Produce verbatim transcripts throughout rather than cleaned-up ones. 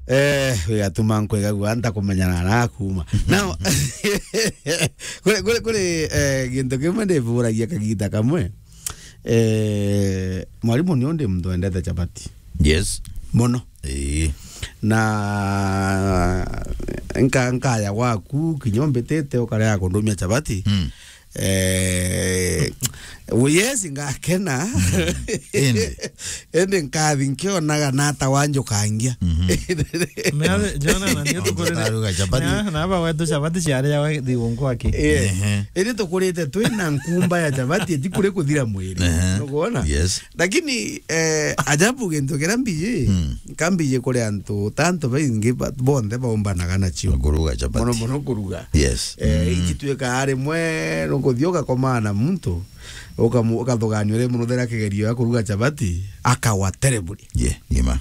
Eh, wigatuma nkwigagua ntakumenyana na kuma. Now, kuri, kuri, kuri, eh, gintu kimwe ndivuragia kagita kamwe. Eh, mwarimu ni undi muntu wendete chapati. Yes. Muno. Ii. Na nka-, nkaya gwaku, kinya umbitite ukarega kundumia chapati. Mm. Eh, we, yes, ngakena. Indi. Indi nkathi nkionaga nata wanjukangia. Mhm. Mea, Jona, na niĩ tũkũrĩte. Ndaruga chapati. Na, na aba wetu chapati ciarĩaga thigunku aki. Eh. Ehe. Indi tũkũrĩte twina nkumba ya chapati, eti kuri kuthira mwiri. Ehe. Nukwona? Yes. Lakini, eh, ajabu gintu kiria mbiji, mm, nkambiji kuri antu, ta antu baingi ba-, bonthe baumbanaga nacio. Kuruga chapati. Muno muno kuruga. Yes. Eh, mm, igituika rimwe nukuthii ugakomana na muntu, ukamu-, ukathuganio rimwe nuthera kigerio ya kuruga chapati, akawa terribly. Ye, ni ma.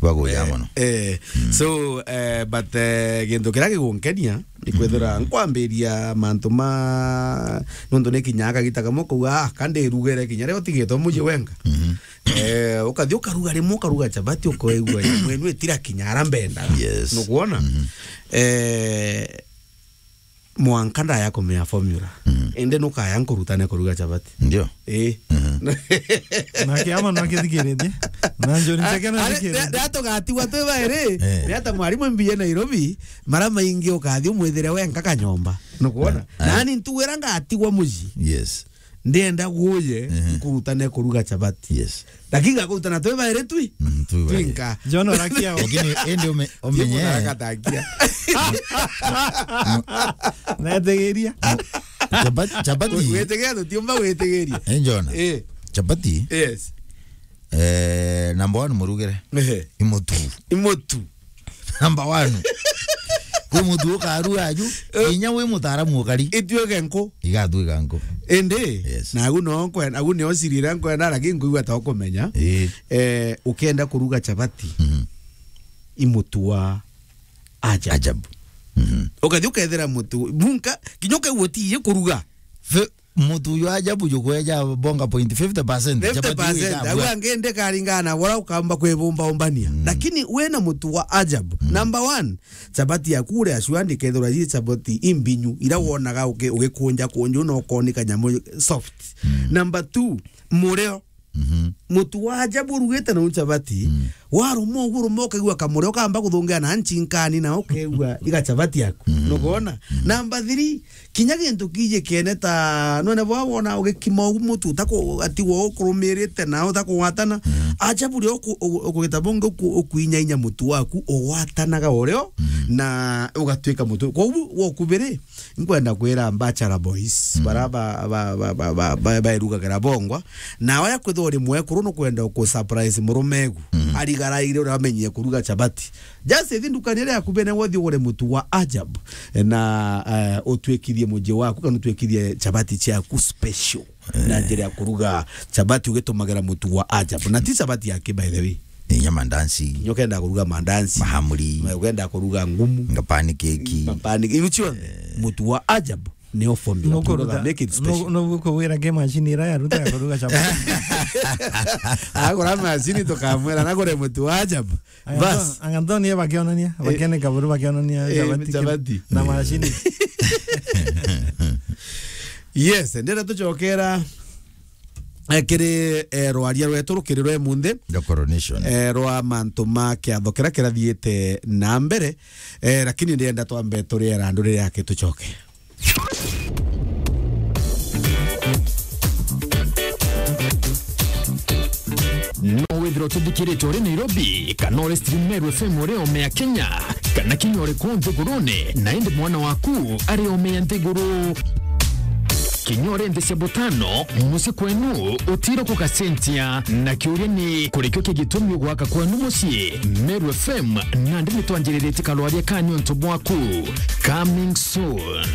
Baguya, eh, muno. Eh, mm, so, eh, but, eh, gintu kiria gigunkenia, ni kwithira, mm, nkwambiria mantu ma, nontu ni kinya kagita kamwe kuuga, "Ah, ka ndirugire kinya riria utigitwe mucii wenka." Mhm. Eh, ukathi ukaruga rimwe, ukaruga chapati, ukoigua imwe inu itira kinya ara mbenda. Yes. Nukwona? Mhm. Eh, mwanka ndaya kumenya formula. Mhm. Indi nukaya nkurutane kuruga chapati. Ndio. Eh. Mhm. Na kiama no kithikiritie. Na njuri ncheke no kithikiritie. Ari, nda-, ndatugatigwa twi bairi. Eh. Ni ata mwarimu mbije Nairobi, mara maingi ukathi umwithire wenka kanyomba. Nukwona? Ah, ah. Nani ntuwira ngatigwa mucii. Yes. Ndienda guje, ehe, nkurutane kuruga chapati. Yes. Lakini ngakurutana twi bairi twi? Mm, twi bairi. Twinka. John orakia o. Lakini indi ume-, umenye. Timu na gatakia. Netegeria. Chapati, chapati. Witigiria tutiumba witigiria. Eh, John. Eh. Chapati. Yes. Eh, number one murugire. Ehe. Imutu. Imutu. Number one. Kwi mutu ukarua aju, eh, kinya wi mutaaramu ukari. Ituike nku. Igatuika nku. Indi, yes, na agu no nkwe-, agu nio siri iria nkwenda, lakini nkwigua ta ukumenya. Ii. Eh, ukenda kuruga chapati, mhm, i mutu wa ajabu. Ajabu. Mhm. Ukathi ukethira mutu, munka, kinya ukaigua utiiji kuruga. Fe-, mutu uyu ajabu jukweja bonga point fifty percent. Fifty percent. Chapati iu ikabua. Au angi ndikaringana na uria ukamba kwibumba umbania. Mm. Lakini wina mutu wa ajabu. Mm. Number one, chapati yaku uria sure ndikethirwa ji chapati imbinyu, ira wonaga uki-, ugikunja kunju na ukoni kanyamu soft. Mm. Number two, murio. Mhm. Mutu wa ajabu urugite na chapati, mm, waruma uguo, uruma ukaigua kamuri, ukamba kuthungia na nchinkani, na ukaigua iga chapati yaku. Mhm. Nukwona? Mhm. Number three, kinya gintu kiji kiene ta, nwene bwa wona ugikima ugu mutu, utaku-, ati wo ukurumirite na utakugwatana. Mhm. Ajabu rio uku-, uku-, ukugita bungi uku-, ukuinyainya mutu waku, ugwatanaga urio, mhm, na ugatuika mutu. Koguo, wa kubiri, nkwenda kwira bachelor boys, mm, bara ba, ba, ba, ba, ba, ba, bairugagira bongwa, na oya kwithirwa uri mwekuru nukwenda uku surprise murume egu, mm, arigaraire uria amenyire kuruga chapati. Just ithi ndukani iria yaku bene wothi ugure mutu wa ajabu, na, eh, utwikithie muji waku, kana utwikithie chapati ciaku special. Eh. Na njira ya kuruga chapati ugitumagira mutu wa ajabu. Na ti chapati yake, by the way. Inya mandansi. Kinya ukenda kuruga mandansi. Mahamri. Ma-, ukenda kuruga ngumu. Nga pancake. Ma pancake. Iu cionthe, eh, mutu wa ajabu nio formula. Nukuruga, make it special. Nu-, nukuwira ke machine ira yaruta ya kuruga chapati. Agura machine tukamwira nagure mutu wa ajabu. Bas. Anganto, anganto ni bakionania, eh, bakene kaburu bakionania, eh, chapati ki-, chapati na machine. Yes, ndenda tucokera, eh, kiri, eh, rwaria rwetu rukiri rwa imunthi. The coronation. Eh, rwa mantu ma kiatho kiria kirathiite na mbere, eh, lakini ndienda twambe turie randu riria aki tucoke. No withirwa utithikiritwe uri Nairobi, kana uri stream Meru F M uri ome ya Kenya, kana kinya uri kuu nthigurune, na indi mwana waku ari ome ya nthiguru. Kinya uri nthi cia butano, mucii kwenu utiro kugacenjia. Na kiuria ni, kurikio ki gitumi ugwaka kwenu mucii? Meru F M nandi nitwanjiriritie karwaria ka niuntu bwaku. Coming soon.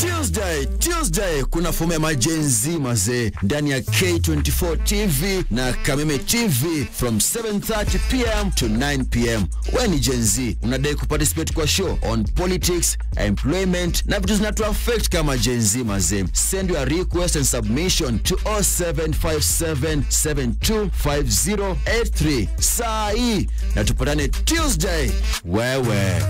Tuesday. Tuesday kuna fomu ya ma Gen Z mazee ndani ya K twenty-four T V na Kameme T V from seven thirty p m to nine p m. We ni Gen Z, unadai kuparticipate kwa show on politics, employment na vitu zinatu affect kama Gen Z mazee? Send your request and submission to oh seven five seven seven two five zero eight three saa hii, na tupatane Tuesday. Wewe.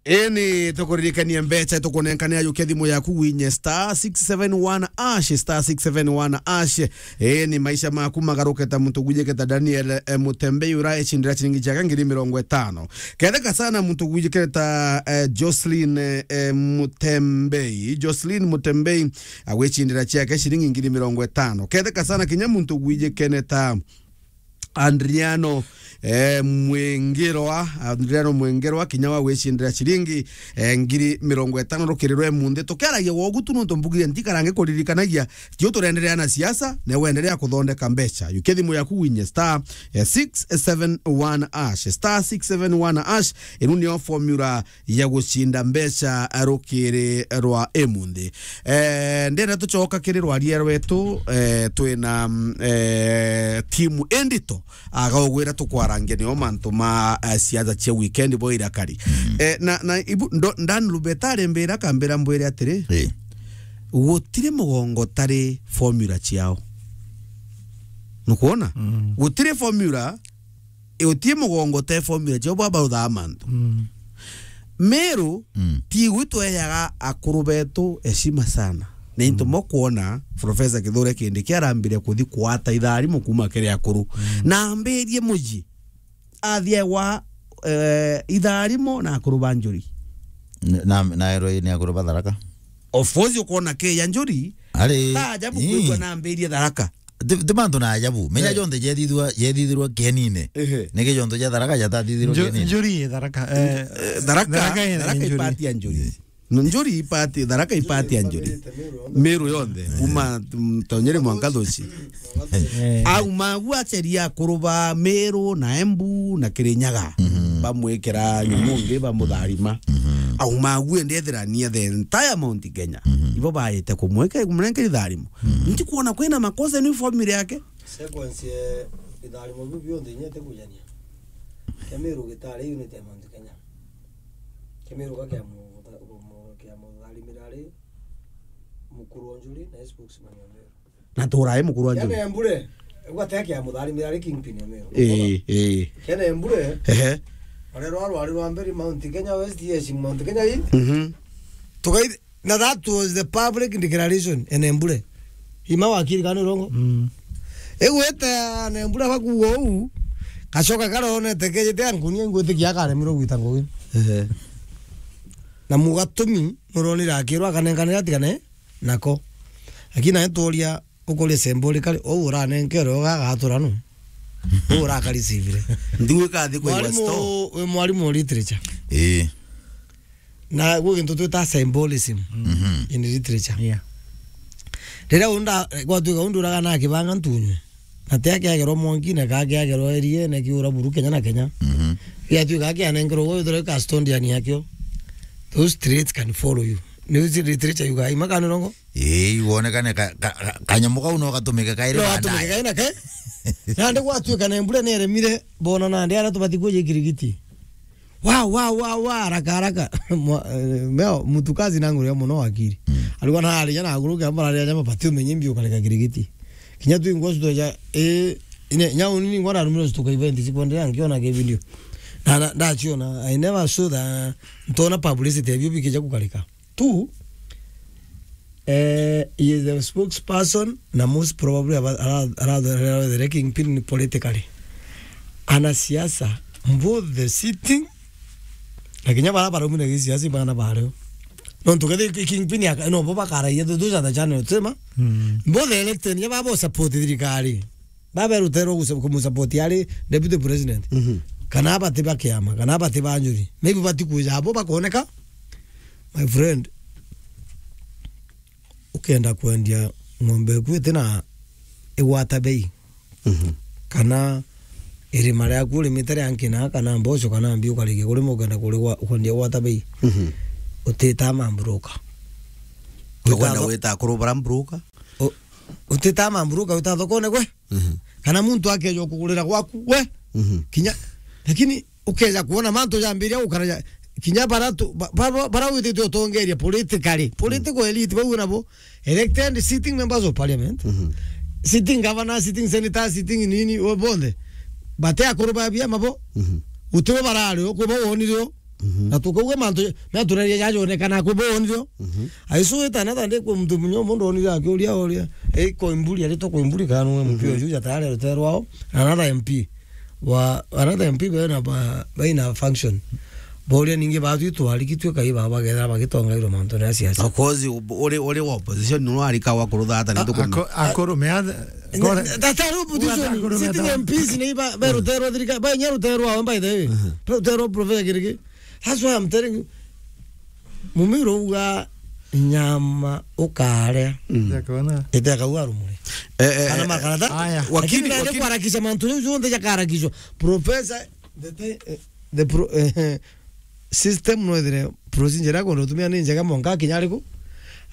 Eni, tukuririkania mbeca tukunenkanira, yukia thimu yaku winye star six seven one ash, star six seven one ash. Eni, maisha maku magaruke ta muntu gwijiketa Daniel, eh, Mutembei ura ecindira ciringi ciake ngiri mirongo itano. Ketheka sana muntu gwijiketa, eh, Jocelyn, eh, Mutembei, Jocelyn Mutembei agwicindira ciake ciringi ngiri mirongo itano. Ketheka sana kinya muntu gwijikene ta Andriano, eh, Mwingirwa, Andriano Mwingirwa, kinya wa gwicindira ciringi, eh, ngiri mirongo itano rukiri rwa emunthi. Tukiaragia wogu tu nontu mbugire ntikarange kuririkanagia, tio turenderea na siasa, na wenderea kuthondeka mbeca. Yukia thimu yaku winye star, eh, six seven one ash, star six seven one ash, inu nio formula ya gucinda mbeca rukiri rwa emunthi. Eh, ndenda tucoka kiri rwaria rwetu, eh, twina, mm, eh, timu indito, agaugwira tukwarangia nio mantu ma, eh, siasa cia weekend bo irakari. Mm. Eh, na, na ibu, ndo, Dan Lubeta arembira akambira mbwire atiri, Eh. gutiri mugongo tari formula ciao. Nukwona? Mm. Gutiri formula, utie mugongo te formula ciao baba uthaa mantu. Mm. Meru, Mm. ti gwi tweyaga akuru betu heshima sana. Na into Mm. mo kwona Professor Kithure Kindiki arambire kuthi kwata itharimo kuma kiri akuru. Mm. Na ambirie muji. Athie wa, eh, itharimo na akuru ba Njuri. Na, na ero ni akuru ba Tharaka. Of course, ukona ke ya Njuri. Ari. Ta ajabu Ii. kwigua na ambirie Tharaka. Ti, ti mantu na ajabu. Menya Eh. jonthe jethithirwa, jethithirwa kienine. Ehe. Niki jontu ja Tharaka jatathithirwa Nju-, kienine. Njuri i Tharaka, eh, Eh, Tharaka, Tharaka ina Tharaka Njuri. Ipati ya Njuri. No, Njuri ipati, Tharaka ipati ya Njuri. Meru yonthe. Kuma, mm, Tonyere mwanka Thuci. Eh. Au magu aceria akuru ba Meru na Embu na Kirinyaga. Mhm. Bamwikira nyumungi, bamutharima. Mhm. Au magu endethirania the entire Mount Kenya. Mhm. Ibo baite kumwika, kumurengeri tharimo. Mhm. Nti kuona kwina makosa ni formula yake. Sequence ya itharimo biu bionthe inya itikujania. Kia Meru gitari unit ya Mount Kenya. Kia Meru ga kia mu-, mu-, kia mutharimira ari mukuru wa Njuri na spokesman wa Meru. Na turae mukuru wa Njuri. Kia Nembure, ugate kia mutharimira ari kingpin ya Meru. Eh, eh. Kia Nembure. Ehe. Arerwa rwari rwa mbere Mount Kenya West, yes, Mount Kenya hii. Mhm. Tukai Na that was the public declaration, Enembure. Ima wakiri kana urongo? Mm. Igwete Enembure bakuga uu, gacoka karonete kejete ankunia ingwitikia akaremirwo gwita ngugi. Ehe. Na mugatumi, nuronire akirwa akanenkanira atigane nako. Lakini nae turia, ukuria symbolically, uu uranenkerwe ugagatura nu? Uu urakarisivire? Ndigwika athi kwa Mwarimu store. Wi mwarimu wa literature. Ii. Na gwi gintu twita symbolism Mhm. in literature. Yeah. Riria unda, gwatuika undu uraga na akibanga ntunywe. Na ti akiagerwa mwankine, ka akiagerwa eriene, kiura buru Kenya na Kenya. Mhm. Giatuika akianengerwa gwe, withirwa custodian yakio. Those traits can follow you. Ni uzi literature yuga, ima kana urongo? Ii, wonekane ka, ka, ka, kanyamu kau no gatumike kairi No baadaye. gatumike kaina ke. Nandi gwatuika na mbura ni eremire, bona nandi aria tubati kuja ikirigiti. Wa, wa, wa, wa, haraka, haraka. Mwa-, eh, meo, mtu kazi na nguru ya muno wakiri. Mm. Alikuwa na hali jana aguru ke ambara ya jama pati umenye mbio kareka kirigiti. Kinya tu ingwa suto ja, eh, ine, nyau nini ngwa na rumiro suto ka event sikwendea ngiona ke video. Na, na, ndachiona, I never saw that, ntona publicity ya bio bikija kukareka. Two, eh, he is the spokesperson na most probably ara-, ara-, ara-, ara-, the kingpin politically. Anasiasa, both the sitting, na kinya bara barumire gisiasa bana bareo. Nontu kethi kingpin ya, no, bo bakaraia, those are the channel, sema? Mm. Both the elected, ya babo support thirikari. Baberuterwo gusa-, kumusupport ari deputy president. Mhm. Kana abati ba kiama, kana abati ba njuri. Maybe bati kuja abo bakoneka. My friend, ukenda kwendia ng'ombe eku iti na igwata bei. Mhm. Kana irima riaku urimite ria nkina kana mboco kana mbi ukarikia kurima ukenda kurigwa, ukwendia gwata bei. Mhm. Utita ma broker. Ukwenda Wita tho- gwita akuru bara broker? U-, utita ma broker, wita thokone gwe? Mhm. Kana muntu akeja kugurira gwaku we? Mhm. Kinya, lakini ukeja kuona mantu jambiria gukara ja, kinya bara tu, ba-, ba-, ba-, bara witite utongeria politically, political elite bau nabo, elected sitting members of parliament, Mhm. sitting governor, sitting senator, sitting nini, we bonthe, bate akuru ba biama bo, Mhm. gutibo barari o, kwi bo wonire o. Mhm. Na tukauga mantu, na turaria jajonekana kwi bo wonire o. Mhm. Aisu witana tande kwi muntu munya mundu wonire akiuria oria, ei, Koimburi, aritwa Koimburi kana nwe M P Mhm. oju jatare ruterwao, another M P. Wa, another M P bena ba, baina function. Boria ningi batwi twarikitwe kai ba bagethera bagitongairwo mantu na siasa. Of course, u-, uri, uri wa opposition, no arika wa kurutha ata ni A-, tukumenya. ako-, akuru me athe, Ne-, gore- tata ru opposition, Uga akuru me sitting ata- M Ps ni ba, ba Mm. ruterwa thirika, ba nya ruterwa, by the way. Mhm. Ruterwa Professor Kiriki. That's why I'm telling you. Mumiro uga nyama ukaria. Mm. Ndakona. Ite akauga rumuri. Eh, eh, Kana eh, makarata. Aya. Wakili, Lakini naende wakili. Kuharakisha mantu jau jonthe jakaharakishwa. Professor, the, the, eh, the pro-, eh, system no ethire procedure yako no tumia ni njega mwanka kinya ariku.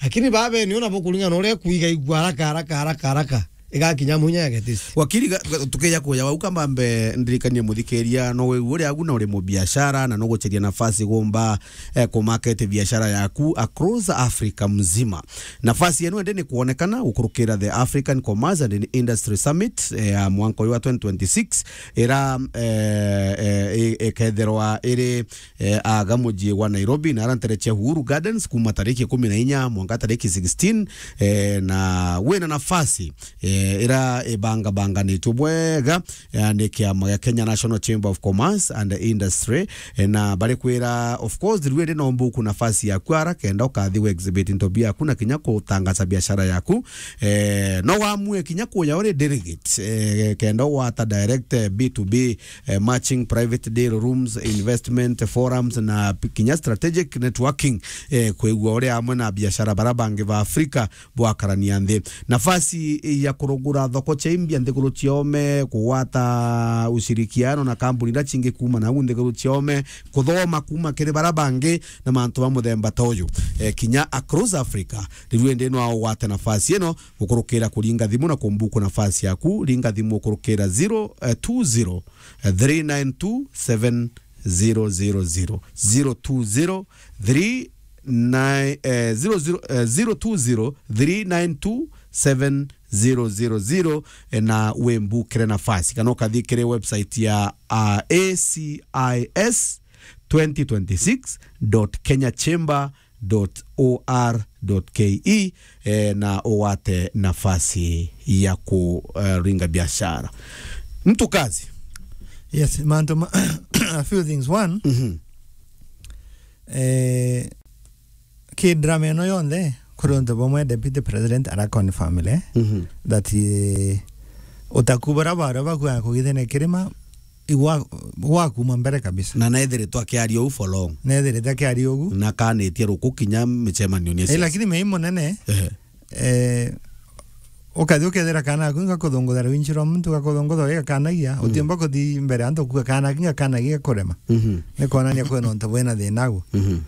Lakini babe ni ona bo kuringana na uria kuiga igwa haraka, haraka, haraka, haraka. Igakinya munya ya getisi. Wakili ga-, ga-, tukeja kuja wau kambambe ndirikanie muthikiria no we uri agu na uri mubiashara na no gucheria nafasi gumba, eh, ku market biashara yaku across Africa mzima. Nafasi eno ende ni kuonekana gukurukira the African Commerce and Industry Summit, eh, ya mwanka uyu wa twenty twenty-six, ira, eh, eh, i-, iketherwa iri, eh, aga muji wa Nairobi na ara ntere cia Uhuru Gardens kuma tariki ikumi na inya mwanka tariki sixteen, eh, na wina nafasi, eh, ira ibangabanganitwe bwega, eh, ni kiama gia Kenya National Chamber of Commerce and Industry, eh, na bari kwira, of course, riu indi no mbuku nafasi yaku ara kenda ukathi we exhibit into biaku na kinya kutangaza biashara yaku, eh, no wamue kinya kuya uri delegate, eh, kenda ugwata direct, eh, B two B, eh, matching private deal rooms, investment forums na p-, kinya strategic networking, eh, kwigua uri amwe na biashara bara bangi ba Afrika bwakarania nthi. Nafasi ya kurugura thoko cia imbia nthiguru ciome, kugwata ushirikiano na kambuni iria cingi kuma nau nthiguru ciome, kuthoma kuma kiri bara bangi na mantu ma muthemba ta uyu. Eh, kinya across Africa, riu indi no ugwate nafasi ino gukurukira kuringa thimu na kumbuku nafasi yaku, ringa thimu ukurukira zero, eh, two zero, eh, three nine two seven zero zero zero, zero two zero three nine, eh, zero zero, eh, zero two zero three nine two seven zero zero zero, eh, na wimbukire nafasi. Kana ukathi kiri website ya, ah, A C I S twenty twenty-six dot kenya chamber dot O R dot K E, eh, na ugwate nafasi ya ku, eh, ringa biashara. Mtu kazi. Yes, mantu ma-, a few things. One, Mhm. eh, ki drama ino yonthe, kuri untu bumwe Deputy President ara confirm le Mhm. that, eh, utaku bara bara bakua kugithene kirima, igwa, gwakuma mbere kabisa. Na nethiritwe akiaria uu for long. Nethiritwe akiaria ugu. Na kanitie ruku kinya micemanio ni Eh, siasa. Lakini mei munene, Ehe. eh, ukathi ukethira kana aku gakuthungutha rwinji rwa muntu, gakuthungutha gigakanagia, Mhm. utiumba kuthi mbere antu kuga kana kinga kanagia kurema. Mhm. Ni kwonania kwina untu bwina thina agu. Mhm.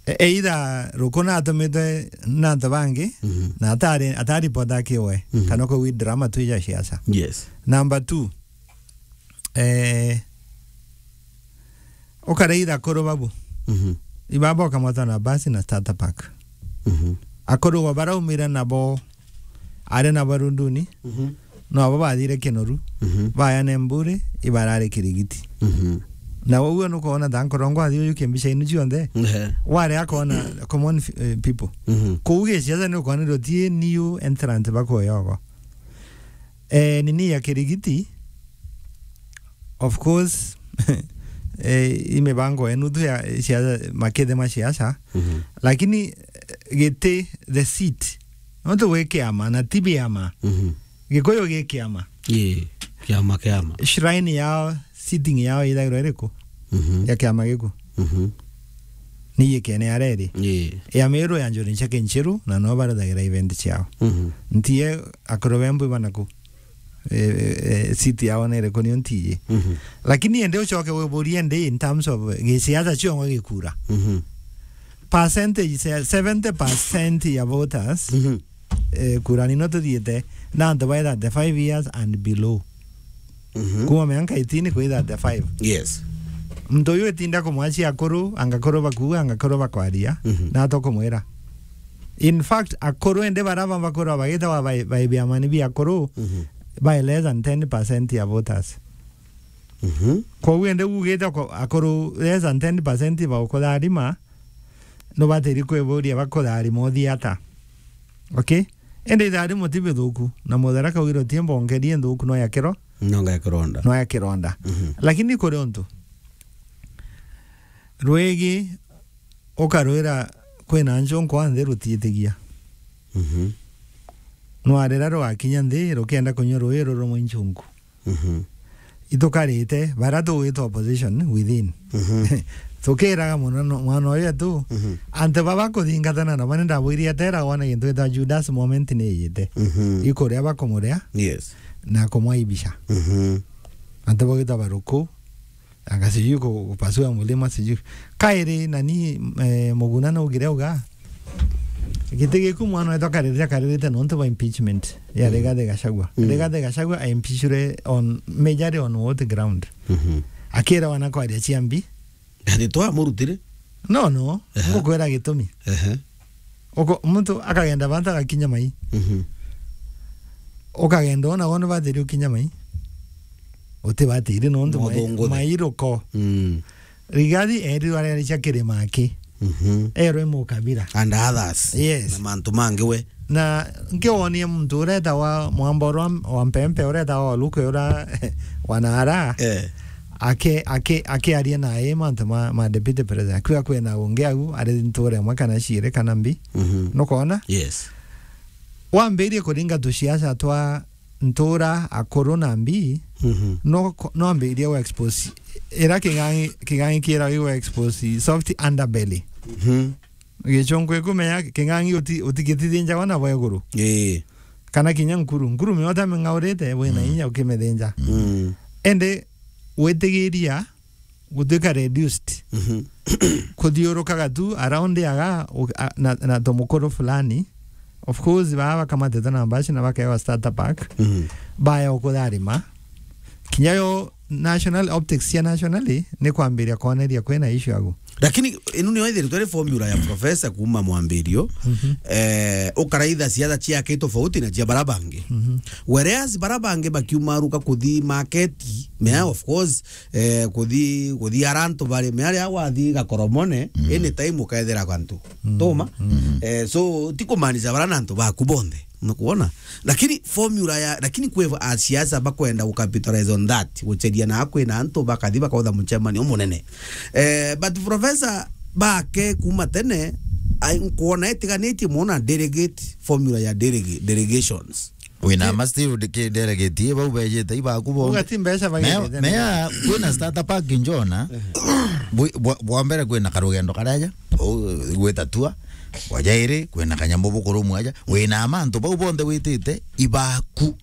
E-, either ruku natumite na antu bangi, Mhm. na atari, atari ripota akiwe, Mhm. kana kwa wi drama tu ya siasa. Yes. Number two, eh, ukareitha akuru babu. Mhm. Ibaba ukamwata na basi na starter pack. Mhm. Akuru wa baraumire nabo, ari nabo runduni, Mhm. no abo bathire Kinoru, Mhm. bayane mburi, ibarare Kirigiti. Mhm. Na uguo nukwona ta nkorongo athi uyu kimbica inu cionthe, Ehe. ware akona common f-, eh, people. Mhm. Kuu giciaca ni ukwona ndio tie new entrant bakoyogo. Eh, nini ya Kirigiti, of course, eh, i mibango yenu tu ya siasa, makethe ma siasa, Mhm. lakini, eh, giti, the seat, nontu gwi kiama na ti biama. Mhm. Gikuyu gi kiama. Ii, kiama, kiama. Shrine yao, sitting yao ithagirwa iriku? Mhm. Ya kiama giku? Mhm. Ni ikene areri. Ii. Ya Meru ya Njuri Ncheke Nchiru, na no barathagira event ciao. Mhm. Ntie akuru bembu banaku. eh, eh, seat yao nere kunio ntiye. Mhm. Lakini ende ucoke wiburie ndi in terms of gisiasa ciongo gikura. Mhm. Percentage se-, seventy percent ya voters, mhm, eh, kura nino tuthiite, na antu ba thirty-five years and below. Mhm. Kuma miaka eighteen kwi thirty-five. Yes. Muntu uyu itinda kumwachia akuru, anga akuru bakuuga, anga akuru bakwaria, mhm, na tukumwira. In fact, akuru ende bara ba bakuru bagitawa bai, bai biamani bia akuru, mhm, by less than ten percent ya voters. Mhm. Koguo ende ugite ko-, akuru less than ten percent baukutharima, nubatiri kwiburia bakutharima uthii ata. Okay? Ende itharimo ti bithuku, na Mutharaka augire uti mbongerie nthuku no ya kiro-, no ya kironda. No ya kironda. Mhm. Lakini kuri untu rwigi ukarwira kwina nchunku a nthi rutiitigia. Mhm. Nwarira rwakinya nthi rukienda kunywa rui ruru mwa nchunku. Mhm. Itukarite, bara tugwita opposition within. Mhm. Tukiraga muno no-, mwana uyu etu, mhm, antu baba kuthingatana na bani ndabwiri atera wona gintu gitwa Judas moment ni yite. Mhm. Ikuria bakumuria, yes, na kumwaibisha. Mhm. Antu bagwita baruku, anga sijui ku-, kupasua mulima, sijui. Kairi nani, eh, Muguna naugire uga, giti giku mwana wetu akaririria karirite nontu ba impeachment ya, mm, Rigathi Gachagua. Mm. Rigathi Gachagua aimpeachure on, majorly on what ground? Mhm. Akira wana kwaria cia mbi. Ati twamurutire? No, no. Ehe. Ngukwira gitumi. Ehe. Uko-, muntu akagenda bantu agakinya mai. Mhm. Ukagenda ona wona batiri ukinya mai. Utibatiri nontu mai, muthunguthe, mai ruko. Mm. Rigathi erirwe arerecia kirima aki. Mhm. Erwe mukabira. And others. Yes. Na mantu mangi we. Na nkiwonia muntu uretawa Mwamboro wa, wa Mpempe, uretawa Waluke ura wanara. Eh. Ake, ake, akiaria naye mantu ma, ma deputy president. Akiuga kwina ungi au, ari nture imwe kana ciiri kana mbi. Mhm. Nukwona? Yes. Wambirie kuringa tuciaca twa ntura, akuru na mbi, mhm, no ko-, no ambirie gu expose. Ira king'ang'i, king'ang'i kiera gu expose soft underbelly. Mhm. Gichunku ikumenya king'ang'i uti-, utigitithinjagwa na bwa iguru. Ii. Kana kinya nkuru. Nkuru miota ming'aurite, wina, mm, inya ukimithinja. Mm. Ende witigiria gutwika reduced. Mhm. Kuthiurukaga tu around aga, u-, a-, na, na tumukuru fulani. Of course, baa bakamatete na mbaci na bakewa starter pack. Mhm. Baya ukutharima. Kinya yo national optics cia nationally ni kwambiria kwoneria kwina issue agu. Lakini inu niyo ithiri twari formula ya professor kuma mwambirio, mhm, eh, ukaraitha ciatha ciake tofauti na cia bara bangi. Mhm. Whereas bara bangi bakiumaruka kuthi market, mea, of course, eh, kuthi, kuthi arantu bari, mea ria wathi gakoromone, mm, any time ukethira kantu. Mm. Tuma? Mm. Eh, so, ti kumaanisha bara na antu baku bonthe. Nukwona? Lakini formula ya, lakini kwi a siasa bakwenda gu capitalize on that. Gucheria na kwina antu bakathi bakautha muchemanio munene. Eh, but professor bake kuma tene, ai, nkwona itiganitie muno na delegate, formula ya delege-, delegations. Wina, eh, ma still de-, ki-, delegate, bau bejete ibaku bo. Uga ti mbeca bagete. Mea, mea, kwina starter pack njona. Eh. Bwi-, bwa, bwa mbere kwina karugendo karaja, u-, gwita tua. Bwa jairi, kwina kanyamu bukurumwa aja. Wina mantu bau bonthe witite, ibaku.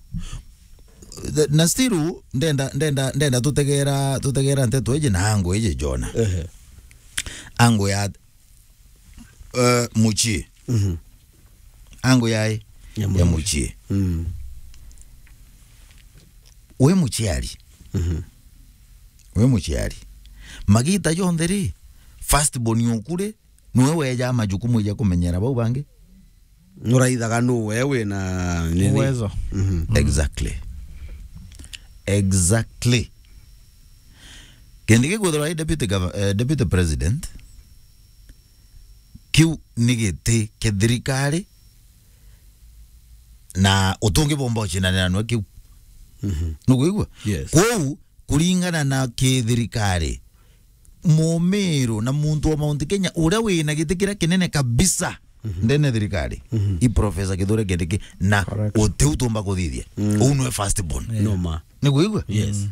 Na still, ndenda, ndenda, ndenda tutegera, tutegera nteto iji na angu iji njona. Ehe. Angu ya, eh, muchie. Mhm. Angu ya, ya muchie. Mm. Wi muciari. Mhm. Wi muciari. Magita jonthe ri, first born oku ri, niwe weja majukumu ja kumenyera bau bangi. Nuraithaga nu we wina nini? Uwezo. Mhm. Mm. Exactly. Exactly. Kindi gikwithirwa i deputy gov-, eh, deputy president, kiu ni giti kia thirikari, na utungi bomba ucindanira nwe kiu. Mhm. Nukwigua? Yes. Kwou, kuringana na kithirikari, mumiru na muntu wa Mount Kenya uria wina giti kiria kinene kabisa, mhm, ndene thirikari, mhm, i Professor Kithure Kindiki, na, correct, utiu tumba kuthithia. Mm. Uu nwe first born. Yeah. Numa. Ni kwigua? Yes. Mm.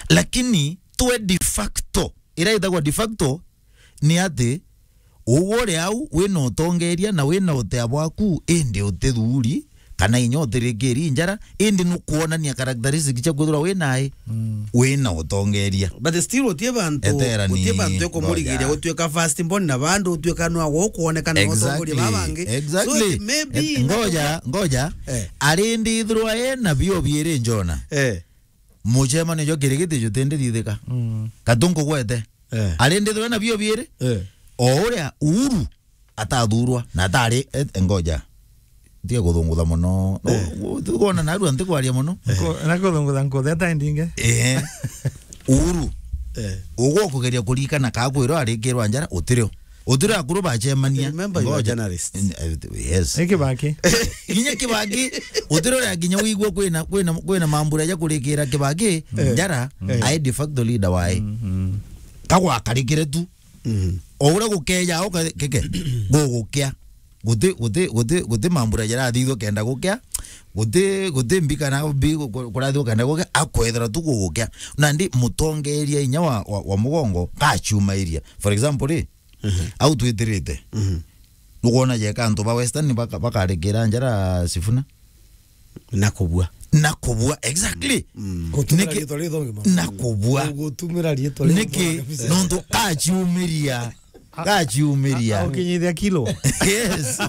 Lakini twe de facto, ira itagwa de facto, ni ati, ugwe uri au, wina utongeria na wina utea bwaku, indi utithuri, kana inya utirikiri njara, indi nukwonania characteristic cia kwithirwa wi nai, mm, wina utongeria. But still, utie bantu, eterani, utie bantu ekumurigiria, ngoja, gutuika first born na bandu utuika nwa gukuonekana, exactly, utongoria babangi. Exactly. So, maybe, eh, ngoja, ngoja. Eh. Ari ndithirwa ena bio biiri njona. Eh. Mucemanio jwa kirigiti jutindithithika. Mm. Katu nkugwete. Eh. Ari ndithirwa ena bio biiri. Eh. O uria Uhuru atathurwa na atari, eh, ngoja. Ntige kuthungutha muno. No, eh, u-, u-, tukwona narua ntikwaria muno. Nko-, na kuthungutha nkutheta ndinge. Eh. Uhuru. Eh. Ugwo kugeria kurikana ka kwirwa arikirwa njara, utirio. Utirio akuru bacemania. Remember, you are, ngoja, journalist. In-, eh, yes. Ni Kibaki. Kinya Kibaki, utirio ria kinya wigua kwina, kwina, kwina mambura ja kurikira Kibaki, eh, njara, eh, ai de facto leader wae. Mm, mm. Kagwakarikire tu. Mm. O uria gukeja, o ka-, keke, gugukia. Guti, guti, guti, guti mambura jarathithwa kenda gukia. Guti, guti mbi kana mbi ku-, ku-, kurathithwa kenda gukia. Akwethira tu gugukia. Nandi mutongeria inya wa, wa, wa mugongo, kachumairia. For example, ri, mhm, au twitirite. Mhm. Nukwona jeka antu ba Western baka-, bakarekera njara Sifuna? Na kubua. Na kubua, exactly. Mm. Gutumira, niki-, riitwa rithongi ma-, na kubua. Gutumira riitwa rithongi. Niki? Kabisa. Nontu kachiumiria. Kachiumiria. A-, ukinyithia kilo. Yes.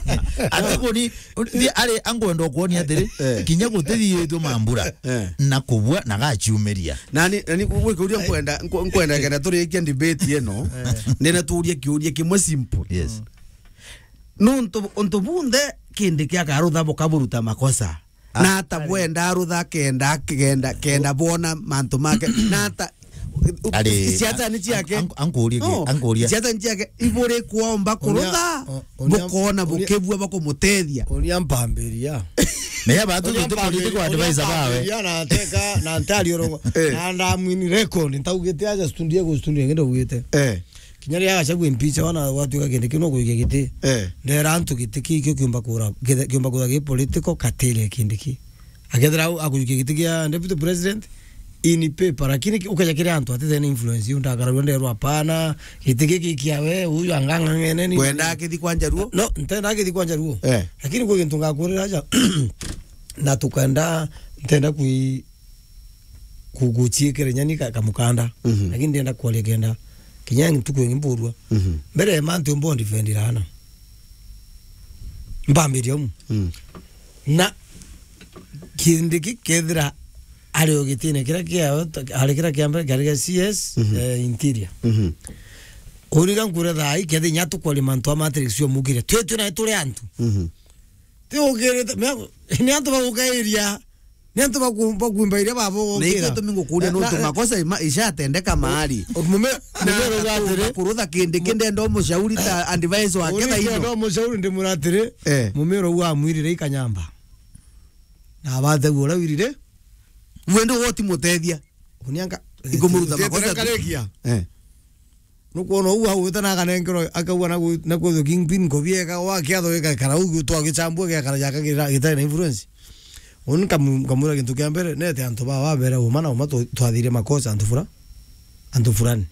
Ati kuni, ndi ari angwenda kuonia atiri, eh, kinya gutithithitwe mambura. Eh. Na kubua, na gachiumiria. Nani, nani, gwi kiuria nkwenda, nkw-, nkwenda kenda turikia debate ino. Eh. Ndina tuuria kiuria kimwe simple. Yes. Nuntu untu bunthe Kindiki akarutha bukaburuta makosa. Ah. Na ata bwenda arutha kenda, kenda, kenda bona mantu make. Na ata, ari, siasa ni ciake. An-, an-, ankurie ki-, no, ankurie. Siasa ni ciake. Iburi kwomba kurutha, uria, o-, uria, bukona uria, bukibua bakumutethia. Uria mpambiria. Na ya batu uria tu political mpambiria, uria advisor bawe. Mpambiria na ateka, na ntari urongo. Eh. Na ndamwini record, ntaugite aja studio, ku studio ngenda ugite. Eh. Kinya riria Gachagua impeach, wana gwatuika Kindiki no kuikia giti. Eh. Ndera antu giti ki, kio kiumba kura, githe-, kiumba kura gi political, katire Kindiki. Akethira au akuikia giti kia deputy president in paper, lakini ki-, ukeja kiri antu atithene influence, iu ndakararua nderwa, "Hapana, giti giki kia we, uyu angang'ang'ene ni." Kwenda akithi kwa Njaruo? No, ntenda akithi kwa Njaruo. Eh. Lakini kwi gintu ngakurira aja, na tukenda, ntenda kui-, ku-, guchiikira nyani ka-, kamukanda. Mhm. Lakini ndienda kwaria kenda kinya ntuku ingi mburua. Mhm. Mbere ya mantu mbo ndifendira ana. Mbambiria umu. Mm. Na Kindiki kethira ari o gitine kiria kia, ari kiria kia mbere, kiari kia C S, mhm, eh, interior. Mhm. Uriga nkure thaa ii, kethira inya tukwaria mantu a matrix yo mukire. Twi, twi na turi antu. Mhm. Ti ukirite, mea-, ni antu bagukairia, ni antu baku-, bakuimba iria baba. Na ikio gukira. Tumi ngukuria, na, nuntu na, makosa ima-, ishatendeka mahali. Mume-, na mumero uga atiri, kurutha Kindiki ndenda umushauri ta advisor wake uni thaino. Ndenda umushauri ndimwira atiri, eh, mumero uga amwirire ikanyamba. Na abatheu uria wirire. Wende uti mutethia. Unianga. Ikumuruta makosa tu. Karikia. Eh. Nukwona uu augite na akanenkerwa, akauga na gwi-, na kwithwa kingpin nkobi eka, wa kiatho gikakara uu, gitwa gichambua giakara jaka gira-, gitari na influence. Uni nkamu-, nkamwira gintu kia mbere, nete antu baa babere uma na uma twa-, twathirie makosa antu fura-, antu fulani.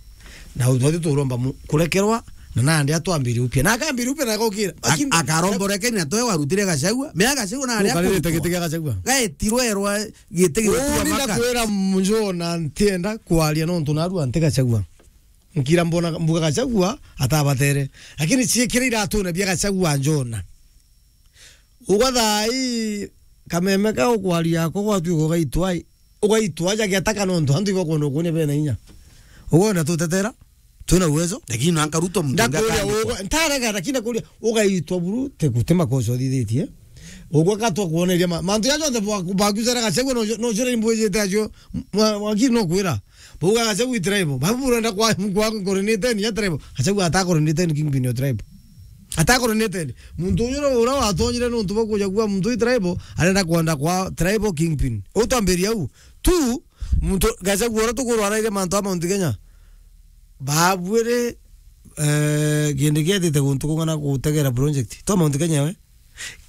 Na u-, twathirie turomba mu-, kurekerwa, na nandi atwambirie upya. Na akambire upya na agokira. Ak-, akaromba urekeri na twe warutire Gachagua. Mea Gachagua na aria ukarire giti kia Gachagua. Gaetirwe erwa giti gitwa. Uni maka. Ndakwira Njona ntienda kwaria nontu narua nti Gachagua. Nkira mbona, mbuga Gachagua atabatere. Lakini ciikira iratune bia Gachagua Njona. Ugwa thaa ii kameme ka ukwaria ako gwatuika ugaitwa, ugaitwa aja giataka nontu antu ibakwenda ukunia bena inya. Ugwa ona tutetera, twina uwezo. Lakini no anka Ruto muntu. Ndakuria ugwa, ntarega, lakini ndakuria, ugaitwa buru, te guti makosa uthithitie. Ugwa gatwa kuoneria ma-, mantu ya jonthe bwa-, bakucera Gachagua no, no cire imbwijite acio, mwa-, mwakiri no kwira. Bauga Gachagua i tribal. Babu burenda kwa, kwa coordinate ya tribal. Gachagua ata coordinate kingpin ya tribal. Ata coordinate. Muntu uyu ura watonyire nontu bwa kuja kuga muntu i tribal, arenda kwenda kwa tribal kingpin. Utwambiria u. Tu, muntu Gachagua ura tukurwaraire mantu a Mount Kenya. Babwire, eh, kindi kietite guntu kung'ana gutegera project. To Mount Kenya we.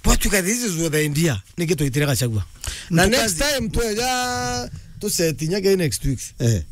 Bwatuika this is what the idea. Niki twitire Gachagua. Na next time tweja tuseti nyage next week. Eh.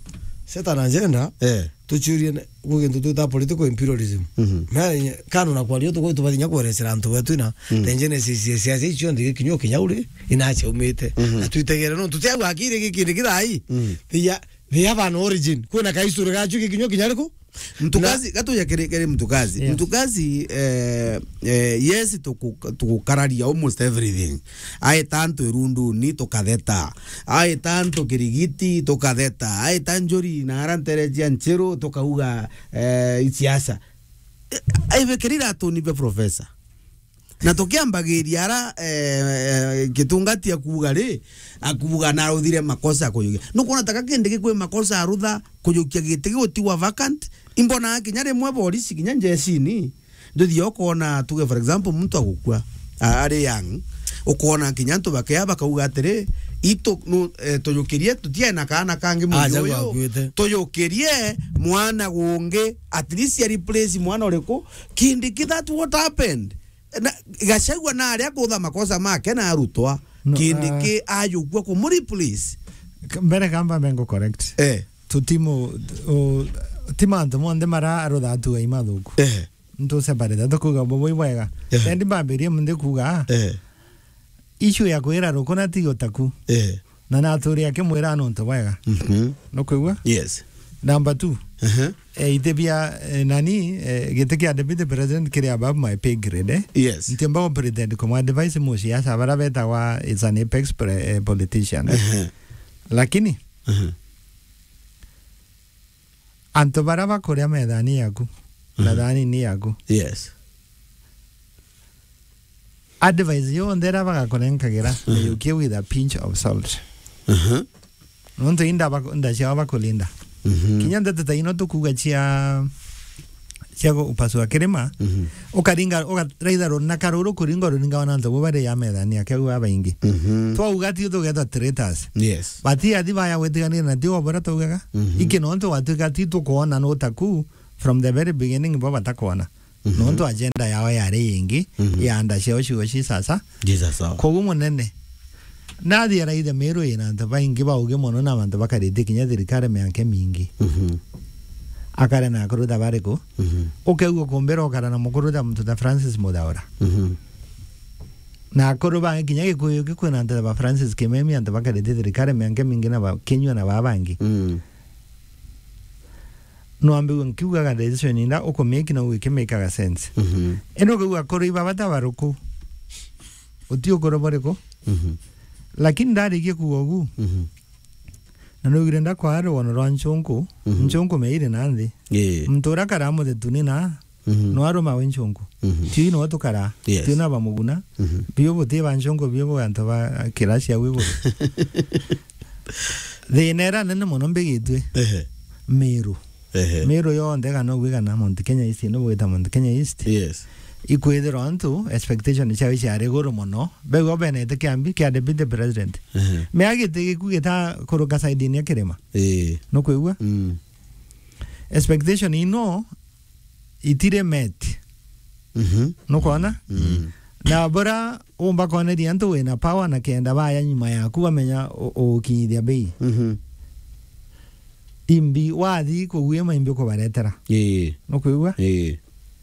Set an agenda. Eh. Tuchurie ne-, Gwi gintu twita political imperialism. Mhm. Na kando na kwaria, tuko tubathinya kwerecera antu betu na, mm, the genesis ya siasa icio cionthe gikinya kinya uri inachaumite. Mhm. Na twitegere no tutia gwakire gikindi kithai. Mm. They are, they have an origin. Kwina ka history gacio gikinya kinya riku? Mtukazi, na gatuja kiri, kiri mtukazi. Yes. Mtukazi, eh, eh, yes, tuku-, tukukararia almost everything. Aita antu irunduni, tukatheta. Aita antu kirigiti, tukatheta. Aita njuri na ara ntere cia nchiru, tukauga, eh, isiasa. Eh, aibekeri iratuni bia professor. Na tukiambagiria ara, eh, eh, Gitungati akuuga ri, akuuga na aruthire makosa ya kujukia. Nukwona ta gakindi gikwi makosa arutha kujukia giti gigutigwa vacant? Imbona kinya rimwe borisi, kinya njecini, nduthia ukoona, tuge for example, muntu agukua, a-, ari young, ukoona kinya antu bakea bakauga atiri, "Itu, nu, eh, tujukirie, tutiae na kaana kangi mweri uyu, tujukirie mwana gungi, at least a replace mwana uriku?" Kindiki, that what happened? Na Gachagua na aria kutha makosa make na arutwa. No, Kindiki, ah, ajukua kumureplace. K-, mbere kamba mengo correct. Eh. Tutimu, u-, ti mantu monthe mara arutha atu ai mathuku. Eh. Ntu separate, tukuga bobo ibwega. Eh. Endi mbambirie munthi kuga, eh, issue ya kwira rukuna ti utaku. Eh. Na naturi akimwira nontu bwega. Mhm. Nukwigua? Yes. Number two. Aha. Eh, ite bia, eh, nani, eh, giti kia deputy president kiri above my pay grade, eh? Yes. Ntiumba ku pretend kumu advise musiasa bara betagwa is an apex pre-, eh, politician, eh? Aha. Lakini, aha, antu bara bakuria methani yaku, na, mhm, thani ni yaku. Yes. Advice yonthe iria bagakunenkagira, mhm, miyukie with a pinch of salt. Mhm. Nontu inda bak-, nda ciao bakulinda. Mhm. Kinya ndeto ta ino tukuuga cia, cia gupasua kirima, mhm, ukaringa, ukaraitha runa karuru kuringa ruringa wa nantu bo bari ya methani yake au babaingi. Mhm. Twauga ti tugetwa traitors. Yes. But athi baya gwitiganira na ti o bora twaugaga. Mhm. Iki nontu watwika ti tukwona no taku from the very beginning bo batakwona. Mhm. Nontu agenda yao yari yingi, mhm, ya nda ciao ciugo ci sasa. Jesus, oh. Koguo munene, nathi araithe Meru ina antu baingi baugi mono na bantu bakarite kinya thirikari mianke mingi. Mhm. Akare na akuru ta bariku? Mhm. Ukeigua kumbira ukara na mukuru ta muntu ta Francis Muthaura. Mhm. Na akuru bangi kinya Gikuyu gikwina antu ta ba Francis Kimemi, antu bakarite thirikari mianke mingi na ba Kinyua na ba bangi. Mm. Nwambiwe nkiugaga decision inda ukumake na ugikimakaga sense. Mhm. Ino ukiuga kuri iba bata baruku, uti ukuru buriku. Mhm. Lakini ndarikie kuuga ugu, mhm, na nugire ndakwaa rwono rwa nchunku, mhm, nchunku meiri na nthi. Ii. Muntu uria karaa muthetuni na, mhm, no aruma wi nchunku. Mhm. Tiu no tukara. Yes. Tiu na bamuguna. Mhm. Biu buti ba nchunku, biu bu antu ba kirasi au iguru. Thina iria nene mono mbigitue, ehe, Meru. Ehe. Meru yonthe kana ugwikana Mount Kenya East, no gwita Mount Kenya East. Yes. Ikwithirwa antu expectation ciao ciari iguru mono. Bego benete kiambi kia deputy president. Ehe. Mea giti giku gita kuruka side-ini ya kirima. Ii. Nukwigua? Mm. Expectation ino itire met. Mhm. Nukwona? Mm. Na bora umba koneria antu wina power na kenda baya nyuma yaku bamenya u-, ugukinyithia bei. Mhm. Imbi wathi kugwima imbi ukubaretera. Ii. Nukwigua? Ii.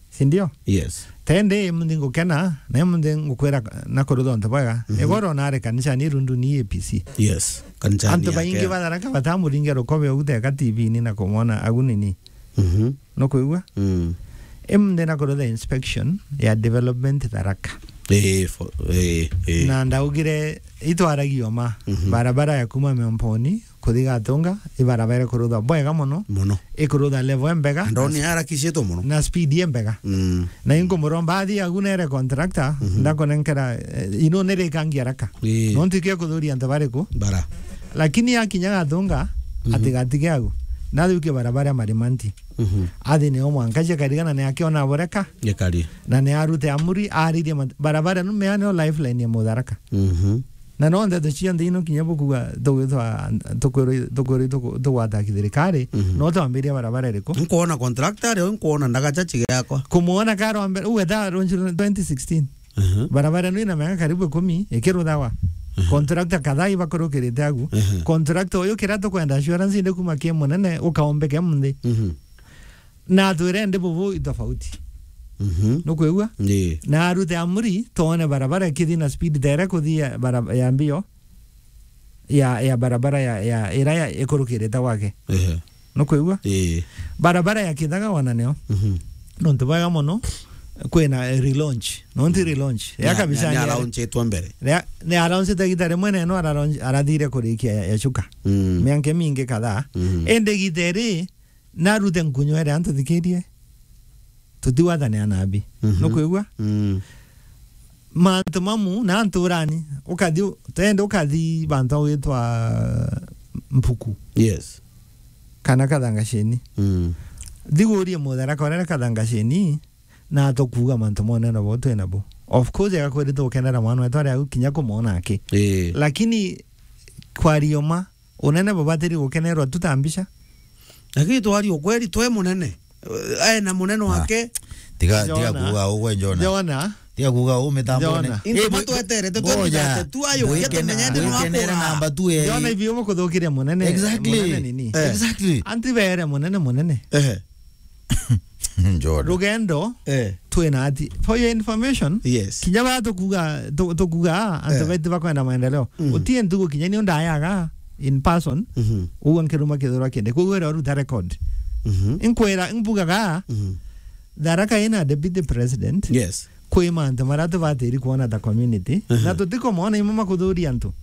Si ndio? Yes. Tende imunthi ngukena, na imunthi ngukwira na kurutha untu bwega. Mhm. Igoro nare kanisa ni rundu ni A P C. Yes. Kanisa ni yake. Antu baingi batharaka batamuringia rukobe uguteka T V-ini na kumwona agunini. Mhm. Nukwigua? Mm. Imunthi na kurutha inspection ya development Tharaka. Ii, fo-, ii, ii. Na ndaugire itwaragio ma, mhm, barabara ya kuma Miomponi kuthi Gatunga, ibarabara ikurutha bwega mono. Mono. Ikurutha level embega. Ndoni arakicitwo mono. Na speed embega. Mm. Na inkumuromba athi agunere contractor, mhm, ndakunenkera, eh, ino nirikangia raka. Ii. Nontu ikio kuthuria antu bariku? Bara. Lakini akinya Gatunga, mhm, atigatige agu. Nathukie barabara ya Marimanti. Mhm. Athi nio mwanka cia karigana ni akiona boreka. Gikari. Na ni arute amuri, aririe mat-, barabara ino mea nio lifeline ya Mutharaka. Mhm. Na no ndeto cionthe ino kinya bukuga tugwitwa, tukwirwa, tukwirwa tuku-, tugwata kithirikari, mhm, no twambiria barabara iriku? Nkuona contractor ari, nkuona ndagacha chiga yakwa. Kumuona karwa mbere, ugeta runji twenty sixteen. Mhm. Barabara ino ina miaka karibu ikumi, ikiruthawa. Mhm. Contractor kadhaa ibakurukirite agu. Mhm. Contractor uyu kira tukwenda assurance indi kuma ki munene, ukaombeke munthi. Mhm. Na twire ndi bubu i tofauti. Mhm. Nukwigua? Ii. Na arute amuri, twone barabara ikithi na speed tere kuthi ya bara-, ya mbio, ya, ya barabara ya, ya, ira ya ikurukirite gwake. Ehe. Nukwigua? Ii. Barabara ya Kithaga wana nio. Mhm. Nontu bwega mono, kwina relaunch. Nontu relaunch. Ya kabisa ni, ni, ni alaunchitwe mbere. Ni, ni alaunchite gita rimwe na ino aralaunch-, arathire kurikia ya, ya Chuka. Mm. Mianke mingi kadhaa. Mm. Indi gita iri, narute nkunyo ere antu thikirie. Tutiwathane anabi. Mhm. Nukwigua? Mm. Mantu mamu na antu urani, ukathi u-, tende ukathi bantu gwitwa Mpuku. Yes. Kana Kathangashini. Mm. Thigurie muthara korere Kathangashini, na tukuuga mantu monene bo twina bo. Of course, agakwiri tukenera mwana wetu ari au kinya kumwona aki. Ii. Lakini kwa rioma, unene bubatiri gukenerwa tu ta mbica. Lakini twari ukweri, twe munene. Eh, ena munene wake. Tiga, tiga Jona. Kuuga ugwe, Jona. Jona. Tiga kuuga u mitambone. Jona. Into Eh, matu eterete, ngoja. Twethirite tu ayo, Bwikenera, tumenyete ni bwikenera wakura. Namba tu, eh. Jona ibi umukuthukiria munene, Exactly. Munene nini? Eh. Exactly. Anti bere munene, munene. Ehe. Jona. Rugendo, Eh. Twina ati. For your information, Yes. Kinya ba tukuga, tu-, tukuga, antu Eh. betu bakwenda maendeleo. Mhm. Utie ntugu kinya ni undayaga in person, Mhm. uguo nkiruma kithurwa kindi. Koguo ira uruta record. Mhm. Inkwira, imbugaga, Mhm. Tharaka ina deputy president. Yes. Kwi mantu maria tubatiri kuona ta community. Mhm. Na tutikomona imwe makuthuria antu.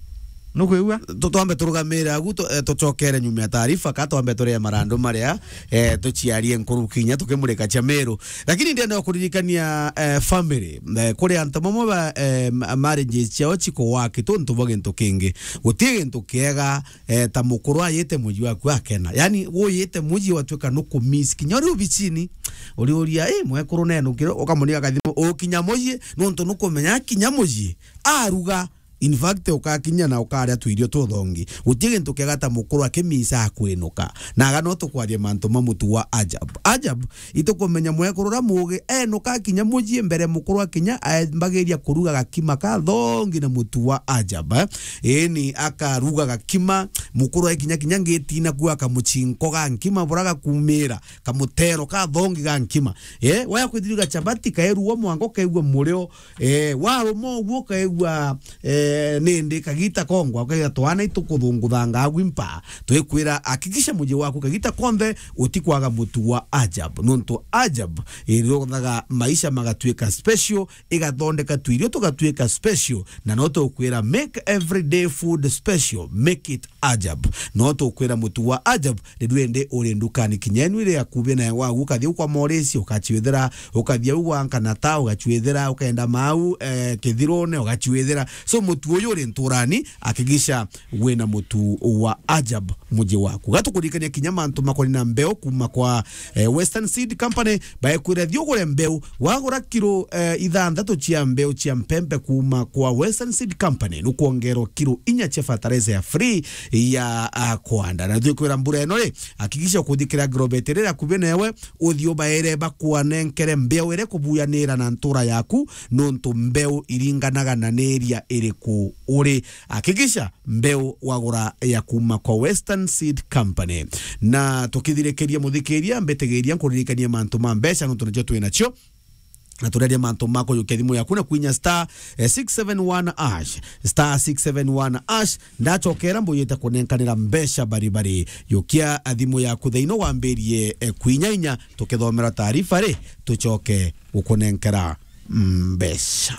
Nukwigua? Tu-, twambe turugamire agu tu-, eh, tucokere nyuma ya taarifa, ka twambe turie marandu maria, eh, tuciarie nkuru kinya tukimurika cia Meru. Lakini ndienda kuririkania, eh, family, eh, kuri antu mamwe ba, eh, ma-, marriages ciao cikowaki tontu bwa gintu kingi. Guti gintu kiega, eh, ta mukuru ayite muji waku akena. Yani, uyite muji watuika nukumiss kinya uri ubicini. Uriuria, "Eh, mwekuru nenu kiro?" Ukamunika kathimo, ukinya muji, nontu nukumenya kinya muji. Aruga, In fact, ukakinya na ukaria tuirio tuthongi. Guti gintu kiega ta mukuru akimisa akwinuka. Na aga no tukwaria mantu ma mutu wa Ajab. Ajab, itukumenya mwekuru uria muugi, enuka akinya mucii mbere mukuru akinya, aambagiria kuruga gakima kathongi na mutu wa Ajab, eh. Ii ni akaruga gakima, mukuru akinya kinya ngitina ku akamucinko ga nkima bura gakumira, kamutero kathongi ga nkima. Eh, waya kwithiriga chabati kaeruo mwango kaigua murio, Eh, waruma uguo ukaigua, eh, nindi kagita kongwa, ukaigua twana itukuthunguthanga agwi mpa. Twikwira, hakikisha muji waku kagita konthe utikwaga mutu wa Ajab. Nontu Ajab irothaga maisha magatuika special, igathondeka tuirio tugatuika special. Na no tukwira, make everyday food special, make it Ajab. No tukwira mutu wa Ajab, riu indi uri ndukani kinya enu iri akubi nae wagu, ukathii kwa Morisi, ukaciwithira, ukathii au gwa Nkanata, ugaciwithira, ukaenda mau, eh, Kithirune, ugaciwithira. So mutu uyu uri nturani, hakikisha wina mutu wa Ajab muji waku. Gatukuririkania kinya mantu makoni na mbeu kuma kwa, eh, Western Seed Company, baekwira thii ugure mbeu, wagura kiro, eh, ithanthatu cia mbeu cia mpempe kuma kwa Western Seed Company, nukwongerwa kiro inya cia fertilizer ya free ya, ah, kwanda. Na tukwira mbura ino ri, hakikisha ukuthikira Agrovet iri akubi newe, uthii ubaire bakwanenkere mbeu iri kubuyanira na ntura yaku, nontu mbeu iringanaga na ni area iriku uri. Hakikisha mbeu wagura ya kuma kwa Western Seed Company. Na tukithirikiria, muthikiria, mbitigiria nkuririkanie mantu ma mbeca, nontu nicio twi nacio. Na tureria mantu ma kujukia thimu yaku na kwinya star, eh, six seven one hash, star six seven one hash. Ndachokera mbuyite kunenkanira mbeca baribari. Jukia thimu yaku thaino wambirie, eh, kwinya inya, tukithomera taarifa ri, tucoke gukunenkera mbeca.